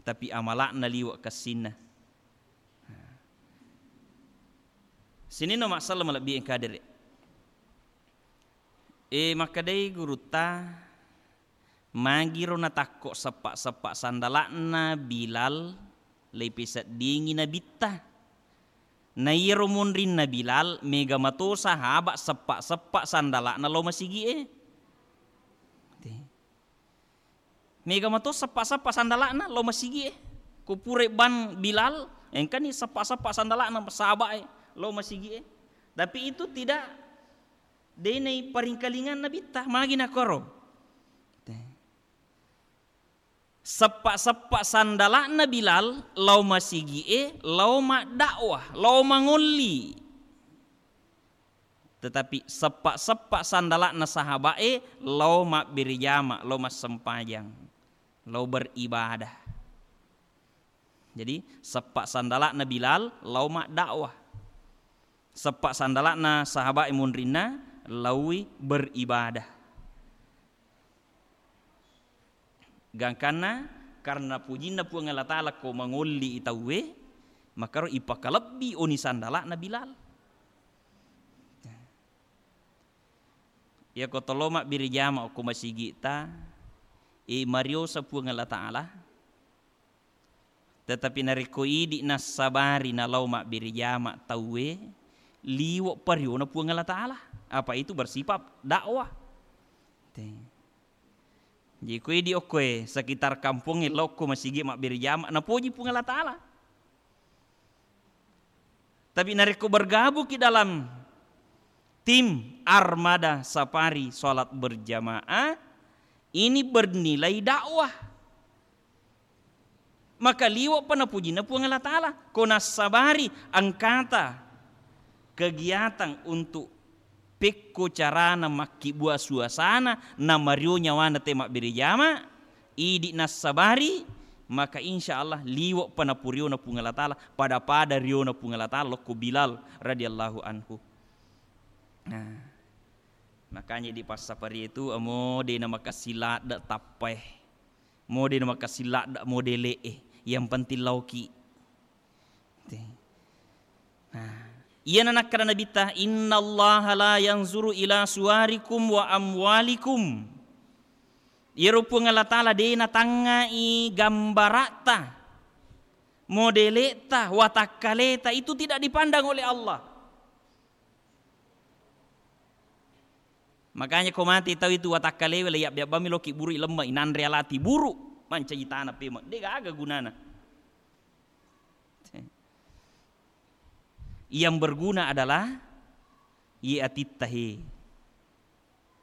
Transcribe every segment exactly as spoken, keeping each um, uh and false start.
tapi amala'na liwe' kessinna. Sininna masalah malebbi engka dere. E, makkedai gurutta, magiro natakko seppa-seppa sandala'na Bilal leipeseddingi nabitta. Na iyaro munrinna Bilal, mega mato sahaba seppa-seppa sandala'na lao masigi'e. Te. Mega mato seppa-seppa sandala'na lao masigi'e. Ko pura ban Bilal, engkani seppa-seppa sandala'na sahaba'e lao masigi'e. Tapi itu tidak, de' naiparingkalingang nabitta, magi nakoro. Te. Seppa-seppa sandala'na Bilal lao masigi'e, lao maddakwah, lao mangolli. Tetapi seppa-seppa sandala'na sahaba'e lao mabbere jama, lao massempajang, lao beribadah. Jadi, seppa sandala'na Bilal lao maddakwah. Seppa sandala'na sahaba'e munrinna laui beribadah. Gangkanna karena pujinna Puang Allah Ta'ala ko mangolli i tauwe, makaro ipakalebbi oni sandala'na Bilal. Iyako tolo mabbere jama okko masigi'ta, e, mariosa Puang Allah Ta'ala. Tetapi narekko idi nassabari nalao mabbere jama tauwe, liwe' pariona Puang Allah Ta'ala. Apa itu bersifat dakwah. Te. Jadi ko idi okkoe sekitar kampongnge lao okko masigi mabbere jama, napoji Puang Allah Ta'ala. Tapi narekko bergabung ki dalam tim armada safari salat berjamaah, ini bernilai dakwah. Maka liwe' pa napujinna Puang Allah Ta'ala. Ko nassabari engkata kegiatan untuk pekko carana makkibua suasana, namario nyawana te mabbere jama, idi nassabari, maka insya Allah liwe' pa napuriona Puang Allah Ta'ala, pada-pada riona Puang Allah Ta'ala lokko Bilal radhiyallahu anhu. Nah, makanya di passafari itu, amo de' namakessing ladde' tappae. Mo de' namakessing ladde' modele'e, yang penting laoki. Te. Nah, iyana nakkeda Nabitta, "Innallaha la yanzuru ila suwarikum wa amwalikum." Iyaro Puang Allah Ta'ala de' natangngai gambara'ta, modele'ta, watakkaleta, itu tidak dipandang oleh Allah. Makanya ko mate tau itu watakkalewe, le yabbe-, yabbami loki buru i lemma, inanre alati buru, mancaji tana pemeng, de' gaga gunana. Yang berguna adalah ye atitta he.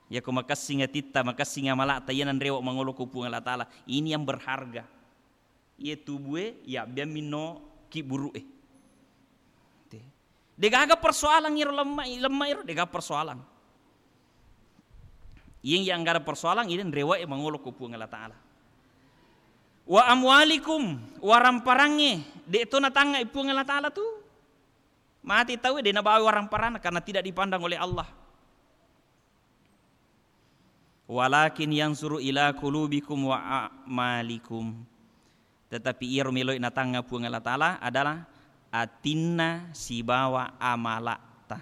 Yako makessing atitta, makessing amala'ta, iya nanrewa mangolo ko Puang Allah Ta'ala. Ini yang berharga. Iye tubue yabbeang minno kibburu'e. Te. Degaga persoalan iro lemma, lemma iro, degaga persoalan. Iyeng yang gada persoalan, iyeng rewe'e mangolo ko Puang Allah Ta'ala. Wa amwalikum, waramparangnge, de' to natangnga i Puang Allah Ta'ala tu. Mati tau de' nabawa waramparanna karena tidak dipandang oleh Allah. Walakin yansuru ila qulubikum wa a'malikum. Tetapi iyaro melo'i natangnga Puang Allah Ta'ala adalah atinna sibawa amala'ta.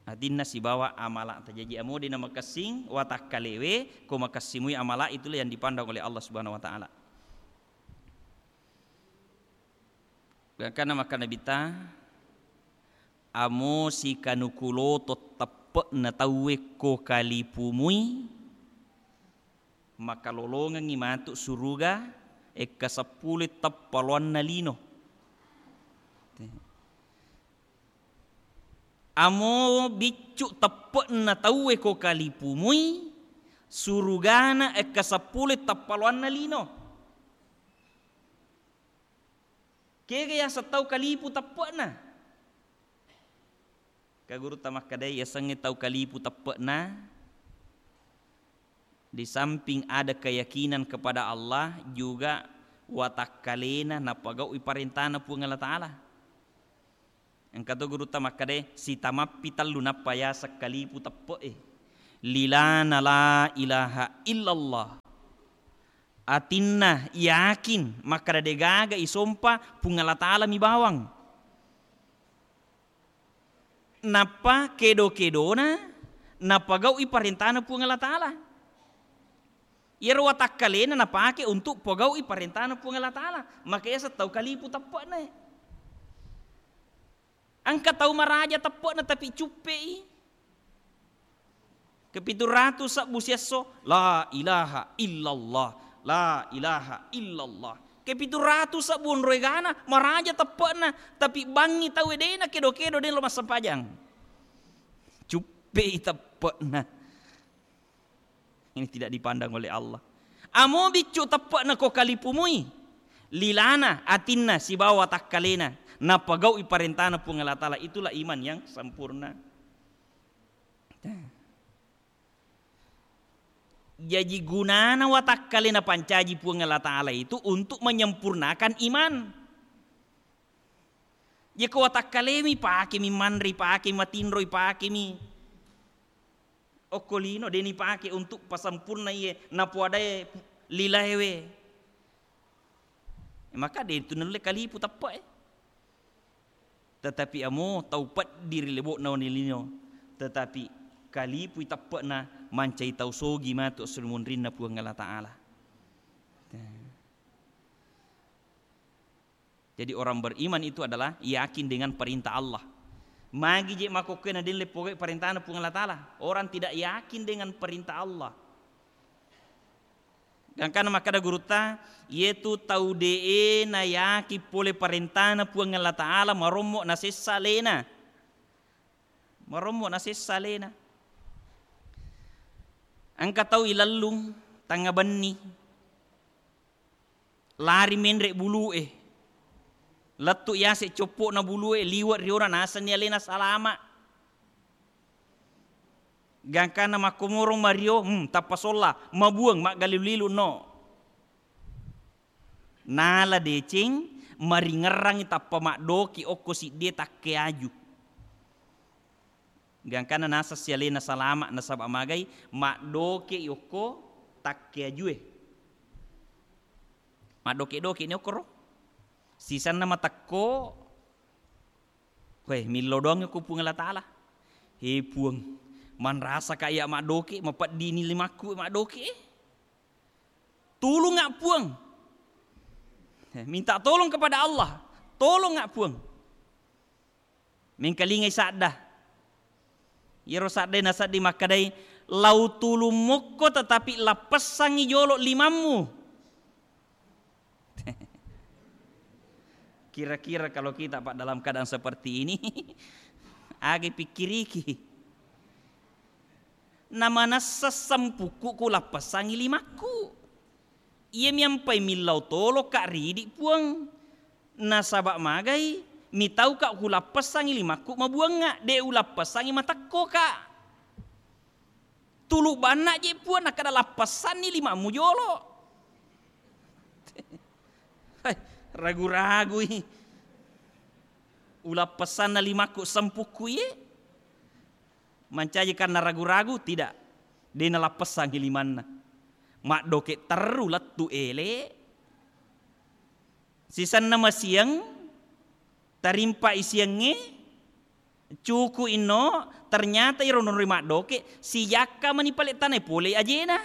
Atinna sibawa amala'ta. Jaji amo de' namakessing watakkalewe, ko makessing mui amala', itulah yang dipandang oleh Allah Subhanahu wa Ta'ala. Gangkanna makkeda Nabitta, amo sikanuku loto teppe'na tauwe ko kalipumui, makalolongengngi matu suruga ekka seppulo teppa loanna lino. Amo biccu teppe'na tauwe ko kalipumui, surugana ekka seppulo teppa loanna lino. Kega yaseng tau kalipu teppe'na? Ka gurutta makkedai, yasengnge tau kalipu teppe'na, di samping ada keyakinan kepada Allah, juga watakkalena napagau'i parentana Puang Allah Ta'ala. Engka to gurutta makkedai, sitamappi tellu nappa yaseng kalipu teppe'e. Lilana la ilaha illallah. Atinna yakin makkeda degaga isompa Puang Allah Ta'ala mi bawang. Nappa kedo-kedona napagau'i parentana Puang Allah Ta'ala. Iyaro watakkalena napake untuk pogau'i parentana Puang Allah Ta'ala. Maka yaseng tau kalipu teppe'na. Engka tau maraja teppe'na tapi cuppe'i. Kepitu ratu sebbu siesso, la ilaha illallah, la ilaha illallah. Kepitu ratu sebbu onroi gana, maraja teppe'na, tapi bangngi tau dena kedo-kedo dena lo massempajang. Cuppe'i teppe'na. Ini tidak dipandang oleh Allah. Amo biccu teppe'na ko kalipumui, lilana, atinna, sibawa watakkalena, napagau'i parentana Puang Allah Ta'ala. Itulah iman yang sempurna. Jaji gunana watakkalena pancaji Puang Allah Ta'ala itu untuk menyempurnakan iman. Jeko watakkalemi, pakemi manre, pakemi matinro, pakemi okko lino, deni pake untuk pasempurna iye napoadae lilaewe. Maka de tu nulle kalipu teppe'e. Tetapi amo tau peddi ri lebo'na wenni lino, tetapi kalipui teppe'na, mancai tau sogi matu esso ri munrinna Puang Allah Ta'ala. Jadi orang beriman itu adalah yakin dengan perintah Allah. Magi je makkokkoe na delle pogai parentana Puang Allah Ta'ala. Orang tidak yakin dengan perintah Allah. Gangkana makkeda gurutta, iyetu tau de'e nayaki pole parentana Puang Allah Ta'ala, marommo nasessa alena. Marommo nasessa alena. Engka tau ilellung tangnga benni, lari menre bulu'e, lettu yase coppo'na bulu'e, liwe riona, nasenni alena salama. Gangkanna makkomorong mario, hmm, tappa solla, mabuang, maggalilu-lilu, no. Nala deceng, maringerrangi tappa maddoki okko siddie takkeaju. Gangkanna nasessi alena salama, nasaba magai maddoke okko takkeajue. Maddoke-doke ni okkoro. Sisenna matekko, Weh, millau doang ko Puang Allah Ta'ala. He Puang, manrasaka iya maddoke, mapeddini limakku maddoke. Tulunga Puang. Eh, minta tolong kepada Allah. Tolonga Puang. Mengkalingai sadda. Iyaro saddae nasedding makkedai, lau tulung mokko tetapi lappessangi jolo limammu. Kira-kira kalau kita, Pak, dalam keadaan seperti ini, agi pikkiriki. Namanessa sempukku ku lappessangi limakku. Iya miampai millau tolo ka ridi Puang. Nasaba magai mitau ka ku lappessangi limakku mabuangnga, de ulappessangi matekko ka. Tulu banna je Puang, nakkeda lappessanni limammu jolo. Hai, ragu-ragui. Ulappessanna limakku sempukku iye. Mancaji karena ragu-ragu, tidak. De nalappessangi limanna. Maddoke terru lettu ele. Sisenna masiang, tarimpa isiangnge, cuku inno, ternyata iro nonroi maddoke, sijakka mani pale tanai pole ajena.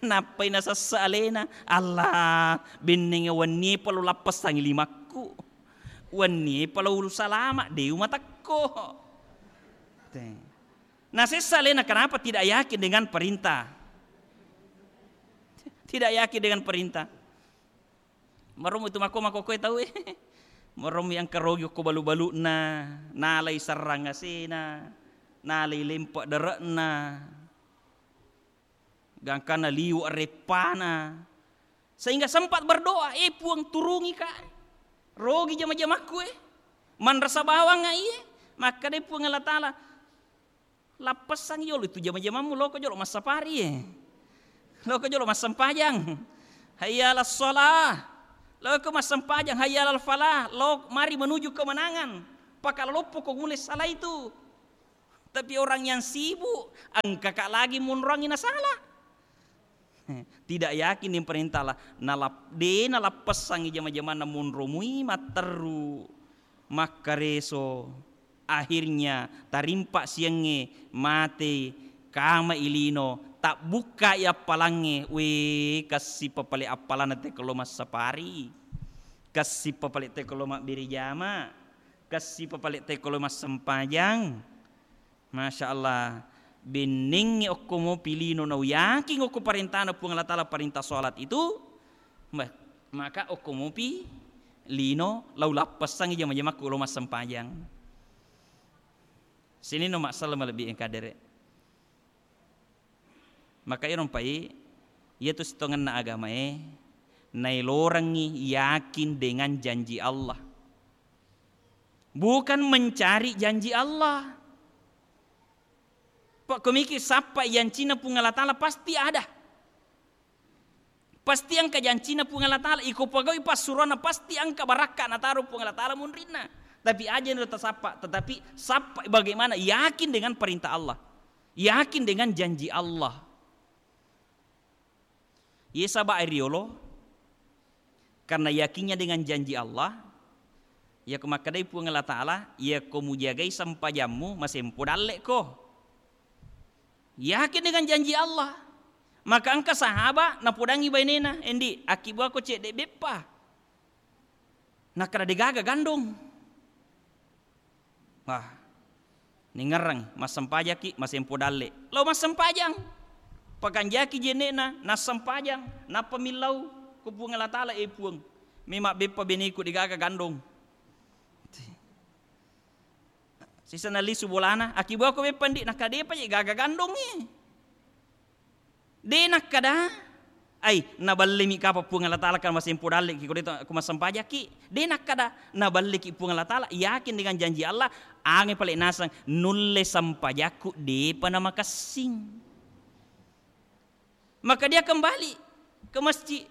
Nappai nasessa alena, Allah, bennengnge wennie palo lappessangi limakku. Wennie palo ulu salama, de umatekko. Te. Nasessa alena, kenapa? Tidak yakin dengan perintah. Tidak yakin dengan perintah. Maromu itu mako-mako koe tau e. Maromu yang kerogi ko balu-baluna, nalai serrang asena, nalai lempe dere'na. Gangkanna liwe reppana. Sehingga sempat berdoa, "Eh, Puang, turungi ka. Rogi jama-jamakku e. Manrasa bawang iye." Makkeda Puang Allah Ta'ala, "Lappessang yolo itu jama-jamammu, loko jolo massapari e. Loko jolo massempajang. Hayya 'alas shalah. Loko massempajang, hayya 'alal falah. Lo mari menuju kemenangan. Pakaloloppo ko mulai salah itu." Tapi orang yang sibuk, engkaka lagi monroangngi nasala. Tidak yakin dengan perintah Allah. Nalap-, de nalappessangngi jama-jamanna monromui matteru, makkareso. Akhirnya tarimpa siangnge, mate, kama i lino, tabbukkai appalangnge, we, kessipa pale appalanna teko lo massapari, kessipa pale teko lo mabbere jama, kessipa pale teko lo massempajang. Masya Allah, bennengngi okko mopi lino nau yakin okko parentana Puang Allah Ta'ala, parentah sholat itu, ma-, maka okko mopi lino lau lappessangngi jama-jamakku lo massempajang. Sininno massala malebbi engka dere. Maka iro mpai, iyatu sitongenna agamae, nailorengngi yakin dengan janji Allah. Bukan mencari janji Allah. Pak komiki sappa jancinna Puang Allah Ta'ala pasti ada. Pasti engka jancinna Puang Allah Ta'ala, iko pegawai passuroanna pasti engka barakka nataro Puang Allah Ta'ala munrinna. Tapi aja niro tasappa, tetapi sappa bagaimana yakin dengan perintah Allah. Yakin dengan janji Allah. Ye saba riolo, karena yakinnya dengan janji Allah, yako makkedai Puang Allah Ta'ala, yako mujagai sempajammu, masempo dalle'ko. Yakin dengan janji Allah. Maka engka sahaba napodangi bainena, "Endi, akkibuako cedde beppa?" Nakkeda, "Degaga gandong." Wah, ningerrang, massempajaki, masempo dalle. Lao massempajang. Pakanjaki jenne'na, nassempajang. Nappa millau ko Puang Allah Ta'ala, "E Puang, memang beppa beneku degaga gandong." Sisana lisu bolana, "Akkibuako beppa ndi?" Nakkeda, "Depa je gaga gandongngi." De nakkeda, "Ai, naballemi kapa Puang Allah Ta'ala kan masempo dalleki, ko de to, ko massempajakki." De nakkeda, "Naballeki Puang Allah Ta'ala, yakin dengan janji Allah, ange pale naseng nulle sempajakku depa namakessing." Maka dia kembali ke masjid.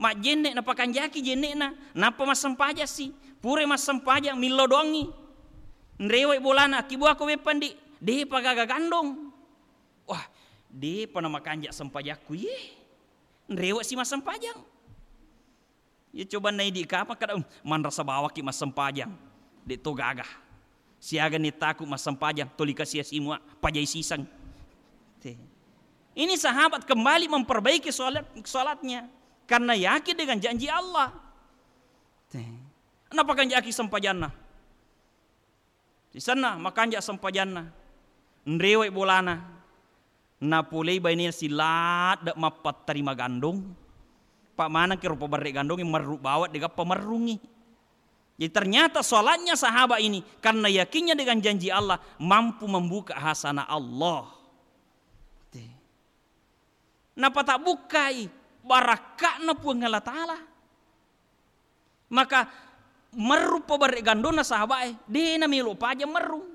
Majjenne, napakanjaki jenne'na, nappa massempajassi. Pura massempajang, millau doangngi. Nrewai bolana, "Akkibuako beppa ndi?" "Depa gaga gandong." Wah, depa namakanja sempajakku ye. Nrewasi massempajang. Ye coba naidi kapang kada, "Um, manrasa bawaki massempajang. De to gaga. Siaga ni taku massempajang, toli kasia simua, pajai siseng." Te. Ini sahabat kembali memperbaiki sholat, sholatnya karena yakin dengan janji Allah. Te. Napakanjaki sempajanna. Sisenna makanja sempajanna, nrewai bolana, napolei bainena siladde mappattarima gandong, pa manengki rupa berre gandongnge merru bawang degappa merrungngi. Jadi ternyata sholatnya sahabat ini karena yakinnya dengan janji Allah mampu membuka hasanah Allah. Te. Napatabukkai barakka'na Puang Allah Ta'ala. Maka merru pabarre gandonna sahabae, de namelo paja merrung.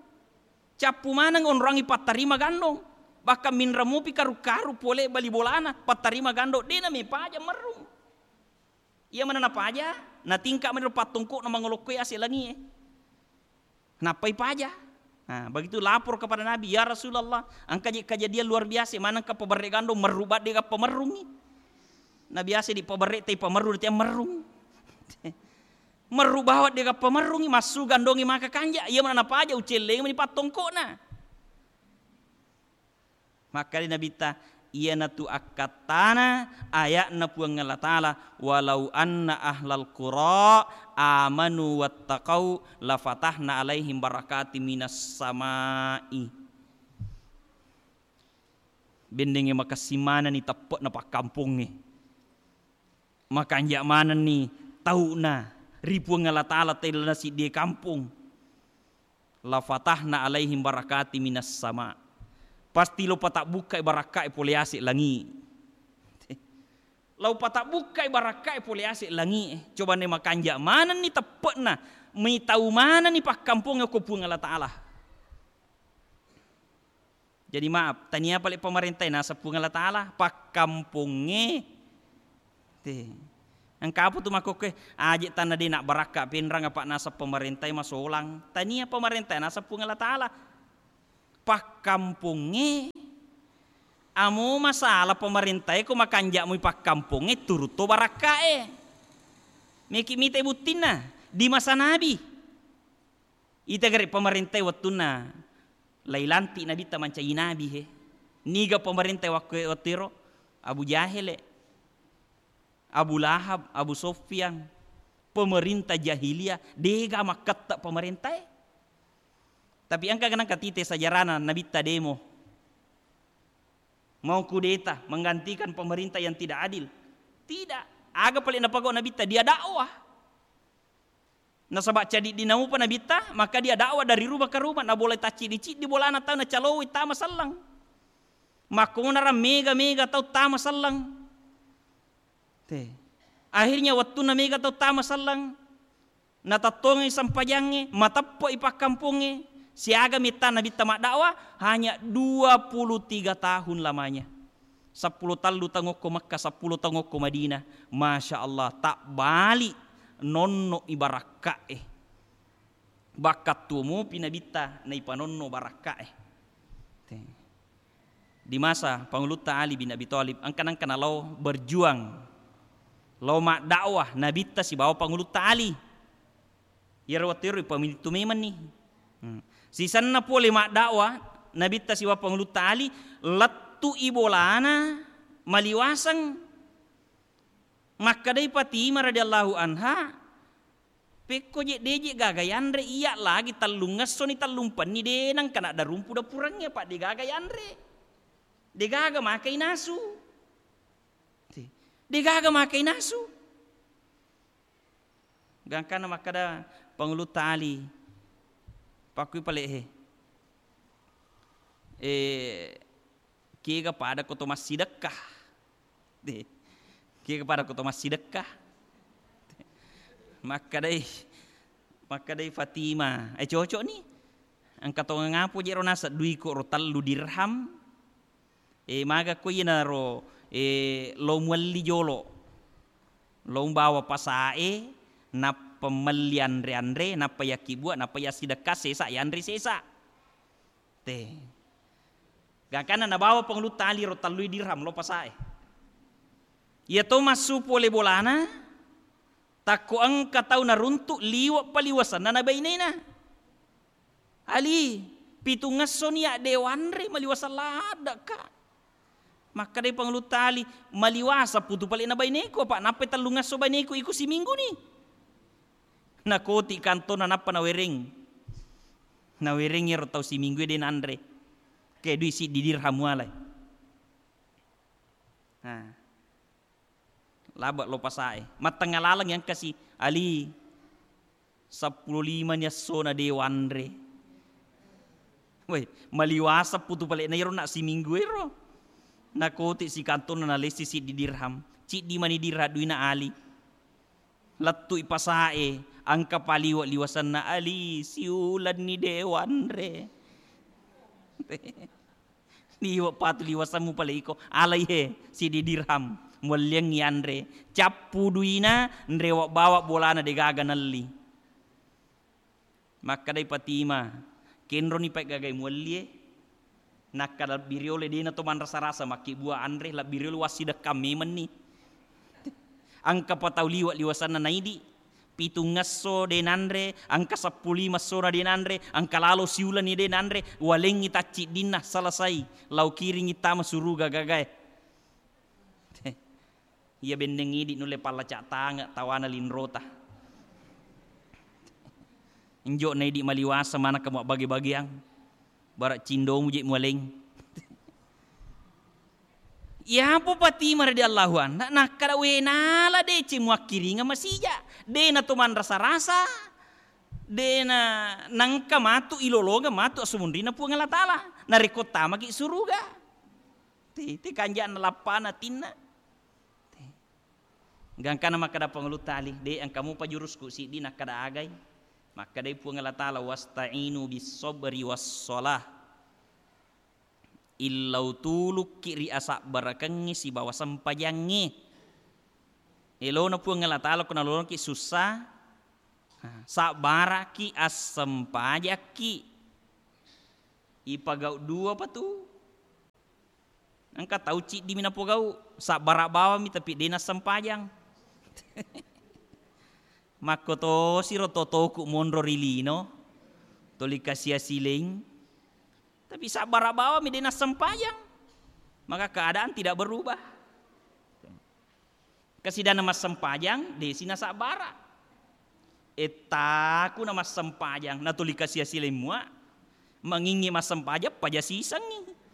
Cappu maneng onroangi pattarima gandong. Bahkan minreng mupi karu-karu pole bali bolana, pattarima gandong, de name paja merrung. Iya mana napaja, natingka mani pattongkona mangolokkoi ase langie. Nappai paja. Nah, begitu lapor kepada Nabi, "Ya Rasulullah, engka je kejadian luar biasa, manengka pabarre gandong merru badde gappa merrungi." Nabi ase di pabarre tai pamerru, dia merrung. Merru bawang de gappa merrungi, massu gandongi maka kanja, iya mana napaja ucelleng mani pattongkona. Makkeda Nabitta, iyanatu akkattana aya'na Puang Allah Ta'ala, "Walau anna ahlal qura amanu wattaqau lafatahna alaihim barakati minas sama'i." Bennengnge makessing manenni teppe'na pakkampongnge. Makanja manenni tau'na ri Puang Allah Ta'ala tellana siddie kampong. "La fatahna alaihim barakati minas sama." Pasti lo patabbukkai barakkae pole ase langi. Lo patabbukkai barakkae pole ase langi. Coba ne makanja manenni teppe'na, mitau manenni pakkampongnge ko Puang Allah Ta'ala. Jadi maaf, tania pale pamarentae naseng Puang Allah Ta'ala, pakkampongnge. Te. Engka apa tu makkokkoe, aje tanna de nabbarakka penrang apa naseng pamarentae masolang. Tania pamarentae naseng Puang Allah Ta'ala. Pakkampongnge, amo masalah pemerintah e ko makanja' mui pakkampongnge, turutto barakka e. Meki mite buttinna di masa Nabi. Ita gare pemerintah e wettunna lailanti Nabitta mancaji nabi he. Niga pemerintah e waktu, wettu ero? Abu Jahele, Abu Lahab, Abu Sofyan, pemerintah jahiliyah, dega makkette pemerintah e. Tapi engka genang katite sejarahna Nabitta demo. Mau kudeta menggantikan pemerintah yang tidak adil. Tidak. Aga pale napagau Nabitta, dia dakwah. Nasaba' cadi' dinamupa Nabitta, maka dia dakwah dari rumah ke rumah, nabolai tacciddi-ciddi bolana tau nacalowoi tama selleng. Makkonara mega-mega tau tama selleng. Te. Akhirnya wettunna mega tau tama selleng, natattongengngi sempajangnge, mateppe'i pakkampongnge, siaga metta Nabitta maddakwah, hanya dua puluh tiga tahun lamanya. Seppulo tellu taung okko Mekka, seppulo taung okko Madinah. Masya Allah, tabbali nonno'i barakka'e. Bakkattuo mupi Nabitta naipanonno barakka'e. Te. Di masa Pangulutta Ali bin Abi Thalib, engka nengka nalao berjuang, lao maddakwah Nabitta sibawa Pangulutta Ali. Iyaro wettu ero ipamitu memenni. Hmm. Sisenna pole maddakwah Nabitta sibawa Pangulutta Ali, lettu'i bolana maliwaseng. Makkedai Fatimah radhiyallahu anha, "Pekko je, de je gaga yanre, iya lagi tellung essoni tellung penni de nengka naddarumpu dapurengnge, apa de gaga yanre. De gaga makai nasu. De gaga makai nasu." Gangkanna makkeda Pangulutta Ali, pakkui pale he. Eh, Kega pada ko to massidekka. De. Kega pada ko to massidekka. Makkedai, makkedai Fatimah, "Eh, cocok ni. Engka tongeng apo je ro naseng duiko ro tellu dirham. Eh, maga ko iyanaro, eh, lo muelli jolo. Lo mbawa pasae, nappa melli anre-anre, nappa yakkibua, nappa yassidekka sesa, yanre sesa." Te. Gangkanna nabawa Pangulutta Ali ro tellui dirham lo pasae. Iya to massu pole bolana, takko engka tau naruntu liwe' paliwasenna na bainena. "Ali, pitung esso ni ya de wanre maliwaseng laddekka." Makkedai Pangulutta Ali, "Maliwaseng putu pale na baineku, apa nappai tellung esso baineku iko siminggu ni." Nakoti kantona nappa nawereng. Nawereng iyaro tau siminggu e de nanre. Ke dui siddi dirham mualai. Nah. Laba' lo pasae. Mattengnga laleng yang kasi, "Ali, seppulo lima ni essona de wanre." Woi, maliwaseng putu pale na iyaro na siminggu ero. Nakoti sikantona nalessi siddi dirham. Ciddi mani dirham duina Ali. Lettu'i pasae, engka paliwe' liwasenna, "Ali, siulenni de wanre." Liwe' patu liwasemmu pale iko, alai he, siddi dirham, muelliangngi anre. Cappu duina, nrewe' bawa bolana de gaga nelli. Makkedai Fatimah, "Kenroni pae gagai muellie." Nakkeda lebbi riolo, "Dena to manrasa-rasa makkibua anre, lebbi riolo wassidekkang memenni." Engka pa tau liwe' liwasenna naidi, pitung esso de nanre, engka seppulo lima essona de nanre, engka lalo siulenni de nanre, walengngi tacciddinna, selesai, lao kiringngi tama suruga gagae. Iya benneng idi nulle pallaca' tange' tawana linrota. Injo na idi maliwasa manakka muabbage-bageang. Bara' cindomu je mualeng. Iyapo Fatimah radhiyallahu anha nakkeda, "We nala deceng muakkiringeng masija'. De na to manrasa-rasa. De na nangka matu ilolongeng matu assumunrinna Puang Allah Ta'ala. Narekko tamaki suruga." Te, te kanja'na lappana atinna. Te. Gangkana makkeda Pangulutta Ali, "De, engka mupa jurusku siddi nakkeda agai." Makkedai Puang Allah Ta'ala, "Wasta'inu bis sabri was shalah." Illau tulukki ri asabbarakengnge sibawa sempajangnge. Elona Puang Allah Ta'ala ko nalolongki sussa, ha, sabbaraki, assempajakki. Ipagau dua pa tu. Engka tau ciddimi napogau, sabbara bawammi tapi de nassempajang. Makkotosiro totoku monro ri lino, toli kasia sileng, tapi sabbara bawammi de nassempajang. Maka keadaan tidak berubah. Kasidanna massempajang, desi nasabbara. Ettaku na massempajang, natuli kasia sileng mua, mangingi massempajang, paja sisengngi.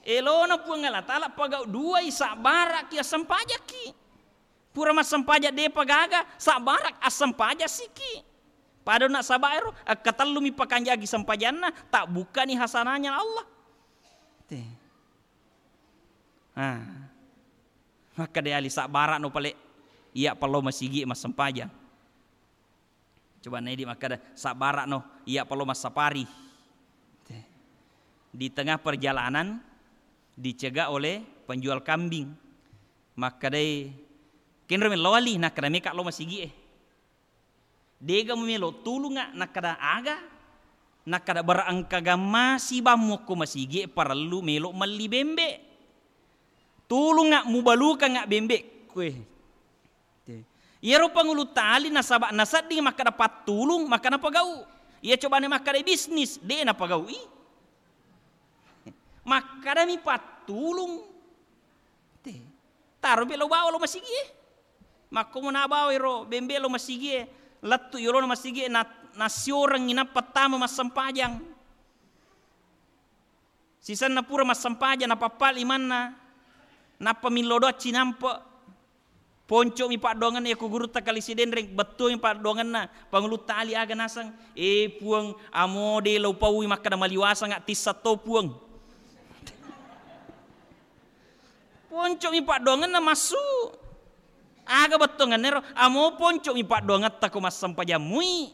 Elona Puang Allah Ta'ala pagau duai, sabbaraki, assempajakki. Pura massempajang depa gaga, sabbarak, assempajassiki. Pada nasaba ero, akkatellumi pakanjaki sempajanna, tabbukkani hasanahnya Allah. Te. Ah. Makkeda ali, sabbara'no pale, iya pallo masigi massempajang. Coba naidi makkeda, sabbara'no iya pallo massapari. Di tengah perjalanan dicegah oleh penjual kambing. Makkedai, kenro mello ali, nakkeda meka lo masigi e. Dega mumelo tulunga, nakkeda aga? Nakkeda bara engkaga masibammu ko masigi e, parellu melo melli bembe. Tulunga, mubalukanga bembe kue. Iyaro pangulu tali nasaba nasedding makkeda pattulung, maka napagau. Iya cobane makkeda bisnis, de napagaui. Makkedami pattulung. Te. Taro pe lo bawa lo masigi e. Makkomo nabawa ero bembe lo masigi e, lettu yolona masigi e, na-, nassiorengngi nappa tama massempajang. Sisenna pura massempajang, napappali manna, nappa millo doang cinampe. Ponco'mi paddoangenna, iya ku gurutta Kali Sidenreng, bettuami paddoangenna, pangulutta Ali aga naseng, "Eh, Puang, amo de lo paui makkeda maliwasanga tissa to, Puang." Ponco'mi paddoangenna massu. Aga bettuangenna ero? Amo ponco'mi paddoangetta ko massempajang mui.